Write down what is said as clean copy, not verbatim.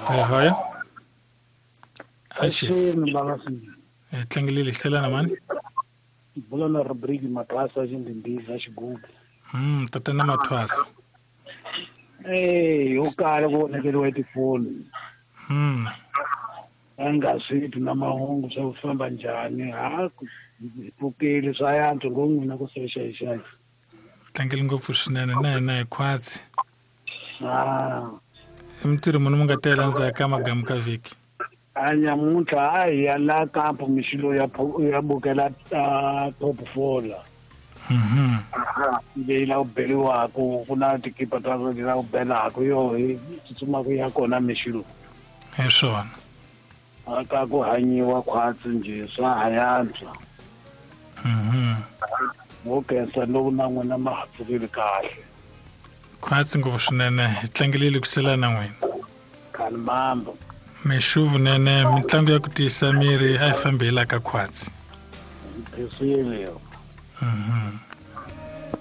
Hoya hoya. Axi. Avuxeni bava. Hi tlangelile xiselana mani. Bula na Rodrigue Mathwasa xindhindhiza xigubu. Tatana Mathwasa. Eh, yo kala ku onhakeriwa hi tifoni. A nga swi twi na mahungu swa ku famba njhani. Ha ku hi pfukile swa yantswa ngo n'wina ku xaxaxaxa. Tlangele ngopfu swinene na hina hi khwatsi. Ah. I mintirho muni mi nga tela ndzhaku ka magamu ka vhiki? A nyamuntlha a hi ya la kampo mixilo ya ya bukela top 4 la. Leyi la ku beriwaku ku na tikipa ta la ku belaku yo hi tsutsumaka ya kona mixilo. Hi swona. A ka ku hanyiwa khwatsi njhe swa ha yantswa. Mo khensa loko na n'wina ma ha pfukile kahle. Khwatsi ngopfu swinene hi tlangelile ku sela na n'wina. Khani mambo. Mixuvu nene mitlangu ya ku tiyisa miri a yi fambi hi la ka khwatsi. Nkhensile yo.